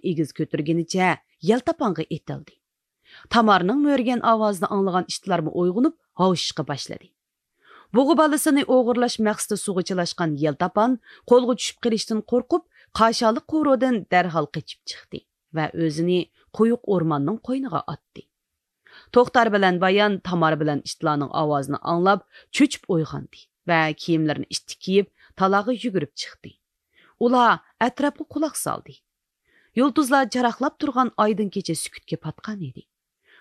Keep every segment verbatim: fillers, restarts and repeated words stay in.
ئېگىز كۆتۈرگىنىچە يەلتاپانغا ئېتىلدى. تامارنىڭ مۆرىگەن ئاۋازىنى ئاڭلىغان ئىتلارمۇ ئويغىنىپ ھاۋشىشقا باشلىدى. بۇغا بالىسىنى ئوغرىلاش مەقسىتى سۇغا چىلاشقان يەلتاپان قولغا چۈشۈپ قېلىشتىن قورقۇپ، قاشالىق قورۇدىن دەرھال قېچىپ چىقتى ۋە ئۆزىنى قويۇق ئورماننىڭ قوينىغا ئاتتى. توختار بىلەن بايان تامار بىلەن ئىتلارنىڭ ئاۋازىنى ئاڭلاپ، چۆچۈپ ئويغاندى ۋە كىيىملىرىنى ئىتتىك كىيىپ، تالاغا يۈگۈرۈپ چىقتى. ئۇلار ئەتراپقا قۇلاق سالدى. يۇلتۇزلار جاراقلاپ تۇرغان ئايدىڭ كېچە سۈكۈتكە پاتقان ئىدى.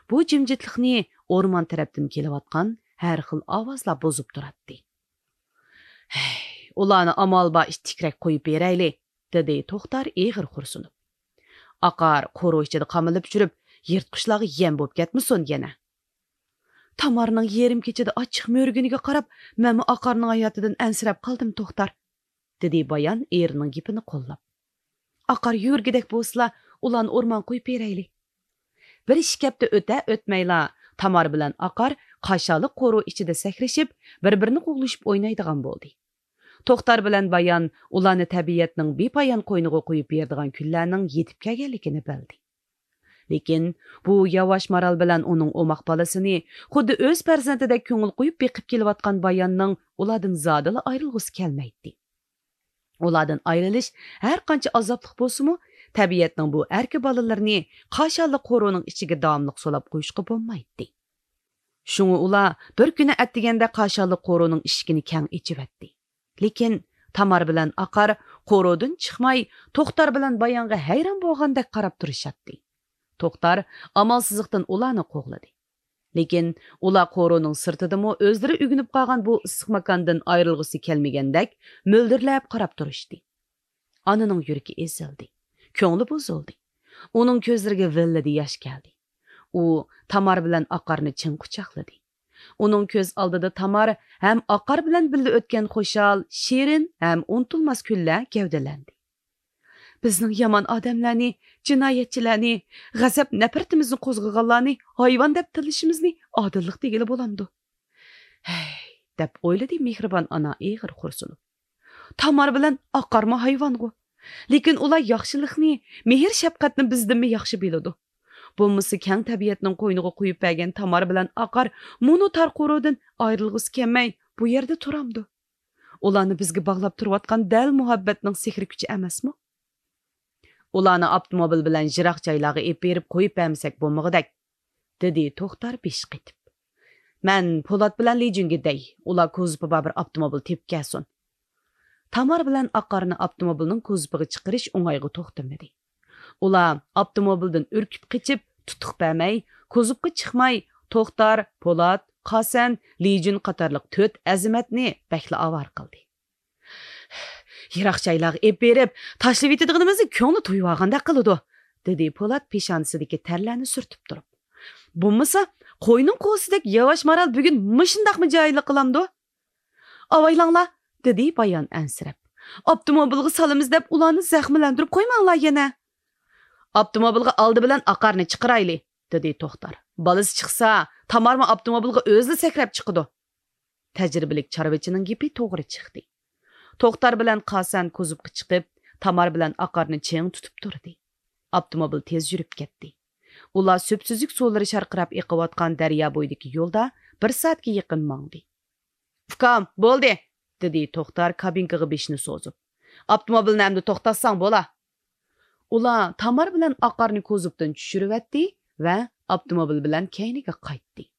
بۇ جىمجىتلىقنى ئورمان تەرەپتىن كېلىۋاتقان ھەر خىل ئاۋازلار بۇزۇپ تۇراتتى. «ھەي، ئۇلارنى ئامال بار ئىتتىكرەك قويۇپ بېرەيلى»، دېدى توختار ئېغىر خورسۇنۇپ. «ئاقار قورۇ ئىچىدە قامىلىپ يۈرۈپ، يىرتقۇچلارغا يەم بولۇپ كەتمىسۇن يەنە.» «تامارنىڭ يېرىم كېچىدە ئاچچىق مۆرىگىنىگە قاراپ، مەنمۇ ئاقارنىڭ ھاياتىدىن ئەنسىرەپ قالدىم، توختار»، دېدى بايان ئېرىنىڭ گېپىنى قوللاپ. «ئاقار يۈگۈرگۈدەك بولسىلا، ئۇلارنى ئورمانغا قويۇپ بېرەيلى.» بىر ئىككى ھەپتە ئۆتە ئۆتمەيلا، تامار بىلەن ئاقار قاشالىق قورۇ ئىچىدە سەكرىشىپ، بىر-بىرىنى قوغلىشىپ ئوينايدىغان بولدى. توختار بىلەن بايان ئۇلارنى تەبىئەتنىڭ بىپايان قوينىغا قويۇپ بېرىدىغان كۈنلەرنىڭ يېتىپ كەلگەنلىكىنى بىلدى. لېكىن بۇ ياۋاش مارال بىلەن ئۇنىڭ ئوماق بالىسىنى خۇددى ئۆز پەرزەنتىدەك كۆڭۈل قويۇپ بېقىپ كېلىۋاتقان باياننىڭ ئۇلاردىن زادىلا ئايرىلغۇسى كەلمەيتتى. ئۇلاردىن ئايرىلىش ھەر قانچە ئازابلىق بولسىمۇ، تەبىئەتنىڭ بۇ ئەركە بالىلىرىنى قاشالىق قورۇنىڭ ئىچىگە داۋاملىق سولاپ قويۇشقا بولمايتتى. شۇڭا ئۇلار بىر كۈنى ئەتىگەندە قاشالىق قورۇنىڭ ئىشىكىنى كەڭ ئېچىۋەتتى. لېكىن تامار بىلەن ئاقار قورۇدىن چىقماي، توختار بىلەن بايانغا ھەيران بولغاندەك قاراپ تۇرۇشاتتى. توختار ئامالسىزلىقتىن ئۇلارنى قوغلىدى. لېكىن ئۇلار قورۇنىڭ سىرتىدىمۇ ئۆزلىرى ئۆگىنىپ قالغان بۇ ئىسسىق ماكاندىن ئايرىلغۇسى كەلمىگەندەك مۆلدۈرلەپ قاراپ تۇرۇشتى. ئانىنىڭ يۈرىكى ئېزىلدى، كۆڭلى بۇزۇلدى. ئۇنىڭ كۆزلىرىگە ۋىللىدە ياش كەلدى. ئۇ تامار بىلەن ئاقارنى چىڭ قۇچاقلىدى. ئۇنىڭ كۆز ئالدىدا تامار ھەم ئاقار بىلەن بىللە ئۆتكەن خۇشال، شېرىن ھەم ئۇنتۇلماس كۈنلەر گەۋدىلەندى. بىزنىڭ يامان ئادەملەرنى، جىنايەتچىلەرنى، غەزەپ نەپرىتىمىزنى قوزغىغانلارنى ھايۋان دەپ تىللىشىمىزنى ئادىللىق دېگىلى بولامدۇ؟ ھەي، دەپ ئويلىدى مېھرىبان ئانا ئېغىر خورسۇنۇپ. تامار بىلەن ئاقارمۇ ھايۋانغۇ. لېكىن ئۇلار ياخشىلىقنى، مېھىر-شەپقەتنى بىزدىنمۇ ياخشى بىلىدۇ. بولمىسا كەڭ تەبىئەتنىڭ قوينىغا قويۇپ بەرگەن تامار بىلەن ئاقار مۇنۇ تار قورۇدىن ئايرىلغۇسى كەلمەي، بۇ يەردە تۇرامدۇ؟ ئۇلارنى بىزگە باغلاپ تۇرۇۋاتقان دەل مۇھەببەتنىڭ سېھرىي كۈچى ئەمەسمۇ؟ ئۇلارنى ئاپتوموبىل بىلەن يىراق جايلارغا ئېلىپ بېرىپ قويۇپ بەرمىسەك بولمىغۇدەك، دېدى توختار بېشى قېتىپ. مەن پولات بىلەن لىجۈنگە دەي، ئۇلار كوزۇپى بار بىر ئاپتوموبىل تېپىپ كەلسۇن. تامار بىلەن ئاقارنى ئاپتوموبىلنىڭ كوزۇپىغا چىقىرىش ئوڭايغا توختىمىدى. ئۇلار ئاپتوموبىلدىن ئۈركۈپ قېچىپ، تۇتۇق بەرمەي، كوزۇپقا چىقماي، توختار، پولات، قاسەن، لىجۈن قاتارلىق تۆت ئەزىمەتنى بەكلا ئاۋارە قىلدى. يىراق جايلارغا ئېلىپ بېرىپ، تاشلىۋېتىدىغىنىمىزنى كۆڭلى تويۇۋالغاندەك قىلىدۇ، دېدى پولات پېشانىسىدىكى تەرلەرنى سۈرتۈپ تۇرۇپ. بولمىسا، قوينىڭ قوزىسىدەك ياۋاش مارال بۈگۈن مۇشۇنداقمۇ جاھىللىق قىلامدۇ؟ ئاۋايلاڭلار، دېدى بايان ئەنسىرەپ. ئاپتوموبىلغا سالىمىز دەپ ئۇلارنى زەخىملەندۈرۈپ قويماڭلار يەنە. ئاپتوموبىلغا ئالدى بىلەن ئاقارنى چىقىرايلى، دېدى توختار. بالىسى چىقسا، تامارمۇ ئاپتوموبىلغا ئۆزىلا سەكرەپ چىقىدۇ. تەجرىبىلىك چارۋىچىنىڭ گېپى توغرا چىقتى. توختار بىلەن قاسەن كوزۇپقا چىقىپ، تامار بىلەن ئاقارنى چىڭ تۇتۇپ تۇردى. ئاپتوموبىل تېز يۈرۈپ كەتتى. ئۇلار سۈپسۈزۈك سۇلىرى شارقىراپ ئېقىۋاتقان دەريا بويىدىكى يولدا بىر سائەتكە يېقىن ماڭدى. ئۇكام، بولدى، دېدى توختار كابىنكىغا بېشىنى سوزۇپ. ئاپتوموبىلنى ئەمدى توختاتساڭ بولا. ئۇلار تامار بىلەن ئاقارنى كوزۇپتىن چۈشۈرۈۋەتتى ۋە ئاپتوموبىل بىلەن كەينىگە قايتتى.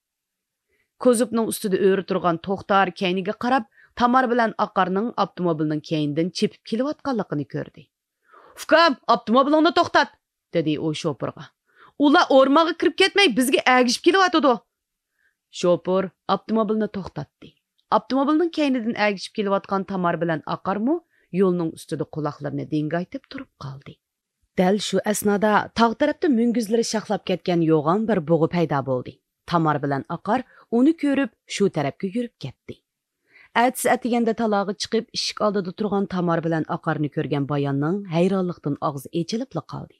كوزۇپنىڭ ئۈستىدە ئۆرە تۇرغان توختار كەينىگە قاراپ، تامار بىلەن ئاقارنىڭ ئاپتوموبىلنىڭ كەينىدىن چېپىپ كېلىۋاتقانلىقىنى كۆردى. ئۇكام، ئاپتوموبىلىڭنى توختات! دېدى ئۇ شوپۇرغا. ئۇلار ئورمانغا كىرىپ كەتمەي، بىزگە ئەگىشىپ كېلىۋاتىدۇ. شوپۇر ئاپتوموبىلنى توختاتتى. ئاپتوموبىلنىڭ كەينىدىن ئەگىشىپ كېلىۋاتقان تامار بىلەن ئاقارمۇ يولنىڭ ئۈستىدە قۇلاقلىرىنى دىڭگايتىپ تۇرۇپ قالدى. دەل شۇ ئەسنادا تاغ تەرەپتە مۈڭگۈزلىرى شاخلاپ كەتكەن يوغان بىر بۇغا پەيدا بولدى. تامار بىلەن ئاقار ئۇنى كۆرۈپ، شۇ تەرەپكە يۈرۈپ كەتتى. ئەتىسى ئەتىگەندە تالاغا چىقىپ، ئىشىك ئالدىدا تۇرغان تامار بىلەن ئاقارنى كۆرگەن باياننىڭ ھەيرانلىقتىن ئاغزى ئېچىلىپلا قالدى.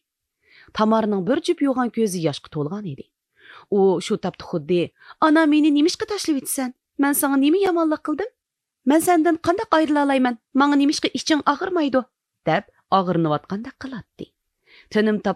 تامارنىڭ بىر جۈپ يوغان كۆزى ياشقا تولغان ئىدى. ئۇ شۇ تاپتا خۇددى، «ئانا، مېنى نېمىشقا تاشلىۋېتىسەن؟ مەن ساڭا نېمە يامانلىق قىلدىم؟ مەن سەندىن قانداق ئايرىلالايمەن؟ ماڭا نېمىشقا ئىچىڭ ئاغرىمايدۇ؟» دەپ ئاغرىنىۋاتقاندەك قىلاتتى. تىنىم تاپ